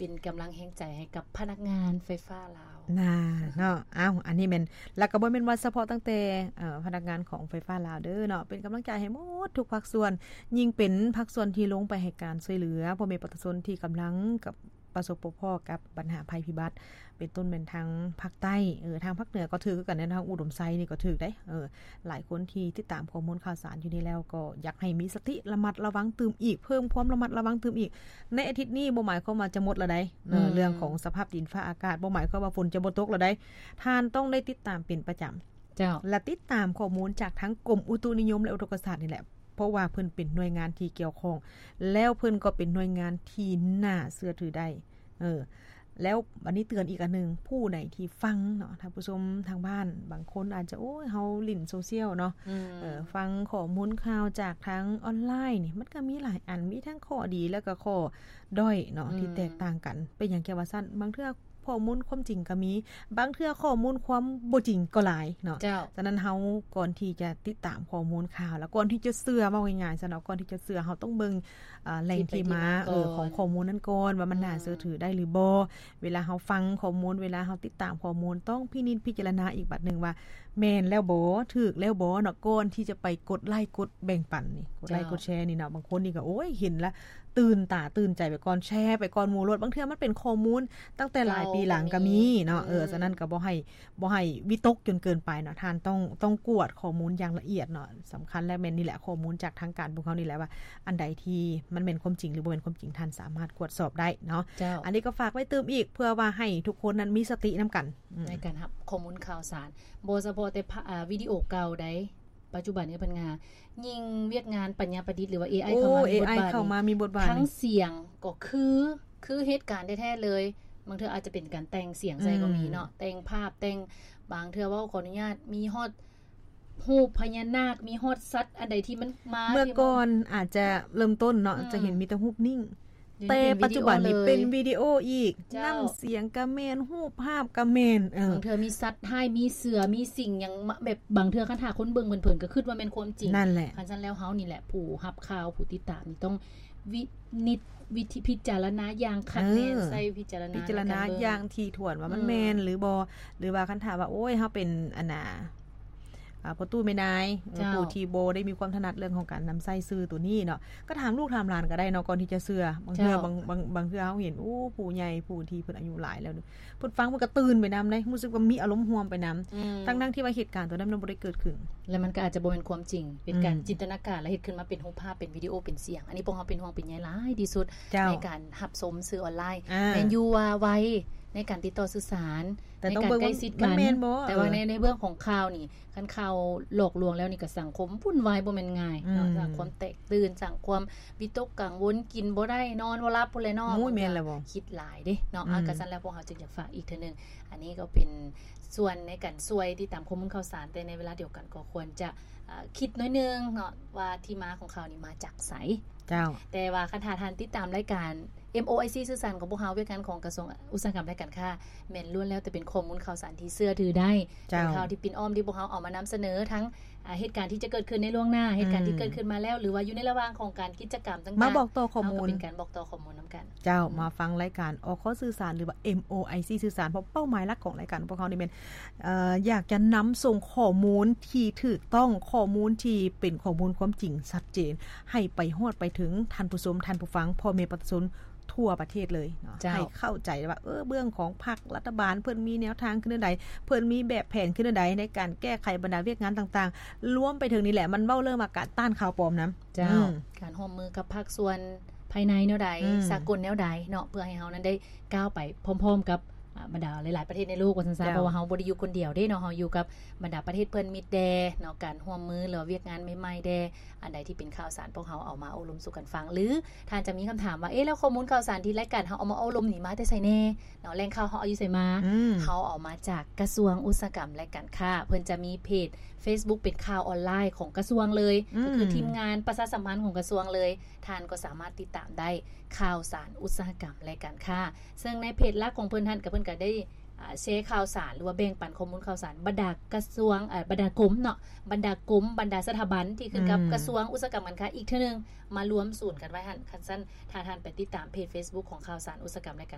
ເປັນກຳລັງແຮງໃຈໃຫ້ກັບພະນັກງານໄຟຟ້າລາວ ນາເນາະ. ເອົ້າ ອັນນີ້ແມ່ນ ແລ້ວກໍບໍ່ແມ່ນວ່າສະເພາະຕັ້ງແຕ່ ເອີ ພະນັກງານຂອງໄຟຟ້າລາວເດີເນາະ, ເປັນກຳລັງໃຈໃຫ້ໝົດທຸກພາກສ່ວນ, ຍິ່ງເປັນພາກສ່ວນທີ່ລົງໄປໃຫ້ການຊ່ວຍເຫຼືອພໍ່ແມ່ປະຊາຊົນທີ່ກຳລັງກັບປະສົບພົບພໍ້ກັບບັນຫາໄພພິບັດ ເປັນຕົ້ນແມ່ນທາງພາກໃຕ້ ເອີ ທາງພາກເໜືອກໍຖືກຄືກັນເດ້, ທາງອຸດົມໄຊນີ້ກໍຖືກເດ້. ເອີ ຫຼາຍຄົນທີ່ຕິດຕາມຂໍ້ມູນຂ່າວສານຢູ່ນີ້ແລ້ວ ກໍຢາກໃຫ້ມີສະຕິລະມັດລະວັງຕື່ມອີກ, ເພີ່ມຄວາມລະມັດລະວັງຕື່ມອີກ. ໃນອາທິດນີ້ບໍ່ໝາຍຄວາມວ່າຈະໝົດແລ້ວໃດ໋ ເອີ ອືມ ເລື່ອງຂອງສະພາບດິນຟ້າອາກາດ, ບໍ່ໝາຍຄວາມວ່າຝົນຈະບໍ່ຕົກແລ້ວໃດ໋. ທ່ານຕ້ອງໄດ້ຕິດຕາມເປັນປະຈຳ ເຈົ້າ ແລະ ຕິດຕາມຂໍ້ມູນຈາກທາງກົມອຸຕຸນິຍົມ ແລະ ອຸທົກກະສາດນີ້ແຫຼະ, ເພາະວ່າເພິ່ນເປັນໜ່ວຍງານທີ່ກ່ຽວຂ້ອງ ແລ້ວເພິ່ນກໍເປັນໜ່ວຍງານທີ່ໜ້າເຊື່ອຖືໄດ້. ເອີ ແລ້ວບັດນີ້ເຕືອນອີກອັນໜຶ່ງ, ຜູ້ໃດທີ່ຟັງເນາະ ທ່ານຜູ້ຊົມທາງບ້ານ ບາງຄົນອາດຈະ ໂອ້ຍ ເຮົາຫຼິ້ນໂຊຊຽວເນາະ ອືມ ເອີ ຟັງຂໍ້ມູນຂ່າວຈາກທາງອອນລາຍນີ້ ມັນກໍມີຫຼາຍອັນ, ມີທັງຂໍ້ດີ ແລ້ວກໍຂໍ້ດ້ອຍເນາະ ອືມ ທີ່ແຕກຕ່າງກັນ. ເປັນຫຍັງແກວ່າຊັ້ນ? ບາງເທື່ອ ຂໍ້ມູນຄວາມຈິງກໍມີ, ບາງເທື່ອຂໍ້ມູນຄວາມບໍ່ຈິງກໍຫຼາຍເນາະ. ເຈົ້າ. ສະນັ້ນເຮົາ ກ່ອນທີ່ຈະຕິດຕາມຂໍ້ມູນຂ່າວ ແລະ ກ່ອນທີ່ຈະເຊື່ອ, ເວົ້າງ່າຍໆຊະເນາະ, ກ່ອນທີ່ຈະເຊື່ອ ເຮົາຕ້ອງເບິ່ງ ເອີ ແຫຼ່ງທີ່ມາ ທີ່ໄປທີ່ມາ ເອີ ຂອງ ຂອງຂໍ້ມູນນັ້ນກ່ອນ ວ່າມັນ ອືມ ໜ້າເຊື່ອຖືໄດ້ຫຼືບໍ່. ເວລາເຮົາຟັງຂໍ້ມູນ, ເວລາເຮົາຕິດຕາມຂໍ້ມູນ, ຕ້ອງພິນິດພິຈາລະນາອີກບາດໜຶ່ງວ່າ ແມ່ນແລ້ວບໍ່? ຖືກແລ້ວບໍ່ເນາະ? ກ່ອນທີ່ຈະໄປກົດໄລ້ ກົດແບ່ງປັນນີ້, ກົດໄລ້ ເຈົ້າ ກົດແຊນີ້ເນາະ. ບາງຄົນນີ້ກໍ ໂອ້ຍ ເຫັນລະ ຕື່ນຕາຕື່ນໃຈໄປກ່ອນ, ແຊໄປກ່ອນໝູ່ໂລດ. ບາງເທື່ອມັນເປັນຂໍ້ມູນຕັ້ງແຕ່ຫຼາຍປີຫຼັງກໍມີເນາະ. ເອີ ເຈົ້າ ສະນັ້ນກໍບໍ່ໃຫ້ ບໍ່ໃຫ້ວິຕົກຈົນເກີນໄປເນາະ. ທ່ານຕ້ອງ ຕ້ອງກວດຂໍ້ມູນຢ່າງລະອຽດເນາະ. ສຳຄັນແລ້ວແມ່ນນີ້ແຫຼະ ຂໍ້ມູນຈາກທາງການພວກເຮົານີ້ແຫຼະ ວ່າອັນໃດທີ່ມັນແມ່ນຄວາມຈິງ ຫຼື ບໍ່ແມ່ນຄວາມຈິງ, ທ່ານສາມາດກວດສອບໄດ້ເນາະ. ເຈົ້າ. ອັນນີ້ກໍຝາກໄວ້ຕື່ມອີກ ເພື່ອວ່າໃຫ້ທຸກຄົນນັ້ນມີສະຕິນຳກັນ ອືມ ໃນການຮັບຂໍ້ມູນຂ່າວສານ, ບໍ່ສະເພາະແຕ່ພະ ອາ ວິດີໂອເກົ່າໃດ. ປັດຈຸບັນນີ້ເພິ່ນງາ ຍິ່ງວຽກງານປັນຍາປະດິດ ຫຼືວ່າ ເອໄອ ໂອ້ ເຂົ້າມາມີບົດບາດ ເອໄອ ເຂົ້າມາມີບົດບາດ ທັງສຽງກໍຄື ຄືເຫດການແທ້ໆເລີຍ. ບາງເທື່ອອາດຈະເປັນການແຕ່ງສຽງໃສ່ກໍມີເນາະ ອືມ ແຕ່ງພາບ ແຕ່ງ ບາງເທື່ອເວົ້າ ຂໍອະນຸຍາດ ມີຮອດຮູບພະຍານາກ ມີຮອດສັດອັນໃດທີ່ມັນມາ ເມື່ອກ່ອນອາດຈະເລີ່ມຕົ້ນເນາະ ອືມ ຈະເຫັນມີແຕ່ຮູບນິ້ງ ແຕ່ປັດຈຸບັນນີ້ເປັນວິດີໂອອີກ ເຈົ້າ ນ້ຳສຽງກະແມ່ນ ຮູບພາບກະແມ່ນ ເອີ ບາງເທື່ອມີສັດຮ້າຍ ມີເສືອ ມີສິ່ງຫຍັງມາ ແບບບາງເທື່ອຄັນຖ້າຄົນເບິ່ງເພີນໆກໍຄິດວ່າແມ່ນຄວາມຈິງ. ນັ້ນແຫຼະ ຄັນຊັ້ນແລ້ວເຮົານີ້ແຫຼະຜູ້ຮັບຂ່າວ ຜູ້ຕິດຕາມນີ້ຕ້ອງວິນິດ ວິທີ ພິຈາລະນາຢ່າງຄັກແນ່ນ ເອີ ໃຊ້ວິຈາລະນາ ພິຈາລະນາຢ່າງຖີ່ຖ້ວນວ່າມັນ ອືມ ແມ່ນຫຼືບໍ່ ຫຼືວ່າຄັນຖ້າວ່າ ໂອ້ຍ ເຮົາເປັນ ອັນນ່າ ອ່າ ພໍ່ຕູ້ແມ່ນາຍ ເອີ ເຈົ້າ ຜູ້ທີ່ບໍ່ໄດ້ມີຄວາມຖະໜັດເລື່ອງຂອງການນຳໃຊ້ສື່ໂຕນີ້ເນາະ ກໍຖາມລູກຖາມຫຼານກໍໄດ້ເນາະ ກ່ອນທີ່ຈະເຊື່ອ. ບາງເທື່ອ ເຈົ້າ ບາງ ບາງ ບາງເທື່ອເຮົາເຫັນ ໂອ້ ຜູ້ໃຫຍ່ຜູ້ທີ່ເພິ່ນອາຍຸຫຼາຍແລ້ວ ເພິ່ນຟັງເພິ່ນກໍຕື່ນໄປນຳເດ້ ຮູ້ສຶກວ່າມີອາລົມຮ່ວມໄປນຳ ອືມ ທັງໆທີ່ວ່າເຫດການໂຕນັ້ນມັນບໍ່ໄດ້ເກີດຂຶ້ນ ແລະ ມັນກໍອາດຈະບໍ່ແມ່ນຄວາມຈິງ ເປັນການ ອືມ ຈິນຕະນາການ ແລະ ເຮັດຂຶ້ນມາເປັນຮູບພາບ ເປັນວິດີໂອ ເປັນສຽງ. ອັນນີ້ພວກເຮົາເປັນຫ່ວງເປັນໃຍຫຼາຍທີ່ສຸດ ເຈົ້າ ໃນການຮັບຊົມສື່ອອນລາຍ ອ່າ ແມ່ນຢູ່ວ່າໄວໃນການຕິດຕໍ່ສື່ສານ ແຕ່ຕ້ອງເບິ່ງວ່າມັນແມ່ນບໍ່ ໃນການໃກ້ຊິດກັນ ແຕ່ວ່າໃນ ເອີ ໃນເລື່ອງຂອງຂ່າວນີ້ ຄັນຂ່າວຫຼອກລວງແລ້ວນີ້ກໍສັງຄົມວຸ້ນວາຍບໍ່ແມ່ນງ່າຍເນາະ ອືມ ສັງຄົມແຕກຕື່ນ ສັງຄົມວິຕົກກັງວົນ ກິນບໍ່ໄດ້ນອນບໍ່ຫຼັບພຸ້ນແຫຼະເນາະ. ໂອ້ຍ ແມ່ນແລ້ວບໍ່ ຄິດຫຼາຍເດ້ເນາະ. ອືມ ອາ ກໍຊັ້ນແລ້ວ ພວກເຮົາຈຶ່ງຢາກຝາກອີກເທື່ອໜຶ່ງ ອັນນີ້ກໍເປັນສ່ວນໃນການຊ່ວຍຕິດຕາມຂໍ້ມູນຂ່າວສານ ແຕ່ໃນເວລາດຽວກັນກໍຄວນຈະ ເອີ ຄິດໜ້ອຍໜຶ່ງເນາະ ວ່າທີ່ມາຂອງຂ່າວນີ້ມາຈາກໃສ. ເຈົ້າ ແຕ່ວ່າຄັນຖ້າທ່ານຕິດຕາມລາຍການ ເອັມໂອໄອຊີ ສື່ສານຂອງພວກເຮົາ ວຽກງານຂອງກະຊວງອຸດສາຫະກຳ ແລະ ການຄ້າ ແມ່ນລ້ວນແລ້ວແຕ່ເປັນຂໍ້ມູນຂ່າວສານທີ່ເຊື່ອຖືໄດ້ ເຈົ້າ ເປັນຂ່າວທີ່ປິ່ນອ້ອມທີ່ພວກເຮົາເອົາມານຳສະເໜີ ທັງ ອາ ເຫດການທີ່ຈະເກີດຂຶ້ນໃນລ່ວງໜ້າ ເຫດການທີ່ ອືມ ເກີດຂຶ້ນມາແລ້ວ ຫຼືວ່າຢູ່ໃນລະຫວ່າງຂອງການກິດຈະກຳຕ່າງໆ ມາບອກຕໍ່ຂໍ້ມູນ ເຮົາກໍເປັນການບອກຕໍ່ຂໍ້ມູນນຳກັນ. ເຈົ້າ ອືມ ມາຟັງລາຍການ ອຄ ສື່ສານ ຫຼືວ່າ ເອັມໂອໄອຊີ ສື່ສານ ເພາະເປົ້າໝາຍຫຼັກຂອງລາຍການຂອງພວກເຮົານີ້ແມ່ນ ເອີ ຢາກຈະນຳສົ່ງຂໍ້ມູນທີ່ຖືກຕ້ອງ ຂໍ້ມູນທີ່ເປັນຂໍ້ມູນຄວາມຈິງຊັດເຈນ ໃຫ້ໄປຮອດໄປເຖິງທ່ານຜູ້ຊົມ ທ່ານຜູ້ຟັງ ພໍ່ແມ່ປະຊາຊົນ ທົ່ວປະເທດເລີຍເນາະ ເຈົ້າ ໃຫ້ເຂົ້າໃຈວ່າ ເອີ ເບື້ອງຂອງພັກລັດຖະບານເພິ່ນມີແນວທາງຄືແນວໃດ ເພິ່ນມີແບບແຜນຄືແນວໃດ ໃນການແກ້ໄຂບັນດາວຽກງານຕ່າງໆ ລວມໄປເຖິງນີ້ແຫຼະ ມັນເວົ້າເລື່ອງວ່າການຕ້ານຂ່າວປອມນຳ ເຈົ້າ ອືມ ການຮ່ວມມືກັບພາກສ່ວນພາຍໃນແນວໃດ ອືມ ສາກົນແນວໃດເນາະ ເພື່ອໃຫ້ເຮົານັ້ນໄດ້ກ້າວໄປພ້ອມໆກັບ ອາ ບັນດາຫຼາຍໆປະເທດໃນໂລກວ່າຊັ້ນຊະ ເຈົ້າ ເພາະວ່າເຮົາບໍ່ໄດ້ຢູ່ຄົນດຽວເດ້ເນາະ ເຮົາຢູ່ກັບບັນດາປະເທດເພື່ອນມິດແດ່ເນາະ ການຮ່ວມມື ຫຼືວ່າວຽກງານໃໝ່ໆແດ່ ອັນໃດທີ່ເປັນຂ່າວສານ ພວກເຮົາເອົາມາໂອ້ລົມສູ່ກັນຟັງ ຫຼືທ່ານຈະມີຄຳຖາມວ່າ ເອ ແລ້ວຂໍ້ມູນຂ່າວສານທີ່ລາຍການເຮົາເອົາມາໂອ້ລົມນີ້ມາແຕ່ໃສແດ່ເນາະ ແຫຼ່ງຂ່າວເຮົາເອົາຢູ່ໃສມາ ອືມ ເຮົາເອົາມາຈາກກະຊວງອຸດສາຫະກຳ ແລະ ການຄ້າ ເພິ່ນຈະມີເພຈເຟສບຸກເປັນຂ່າວອອນລາຍຂອງກະຊວງເລີຍ ອືມ ກໍຄືທີມງານປະຊາສຳພັນຂອງກະຊວງເລີຍ ທ່ານກໍສາມາດຕິດຕາມໄດ້ ຂ່າວສານອຸດສາຫະກຳ ແລະ ການຄ້າ ເຊິ່ງໃນເພຈຫຼັກຂອງເພິ່ນຫັ້ນ ກໍເພິ່ນກໍໄດ້ ອາ ແຊຂ່າວສານ ຫຼືວ່າແບ່ງປັນຂໍ້ມູນຂ່າວສານ ບັນດາກະຊວງ ເອີ ບັນດາກົມເນາະ ບັນດາກົມ ບັນດາສະຖາບັນທີ່ຂຶ້ນກັບ ອືມ ກະຊວງອຸດສາຫະກຳການຄ້າອີກເທື່ອໜຶ່ງ ມາລວມສູນກັນໄວ້ຫັ້ນ. ຄັນຊັ້ນ ຖ້າທ່ານໄປຕິດຕາມເພຈເຟສບຸກຂອງຂ່າວສານອຸດສາຫະກຳ ແລະ ການ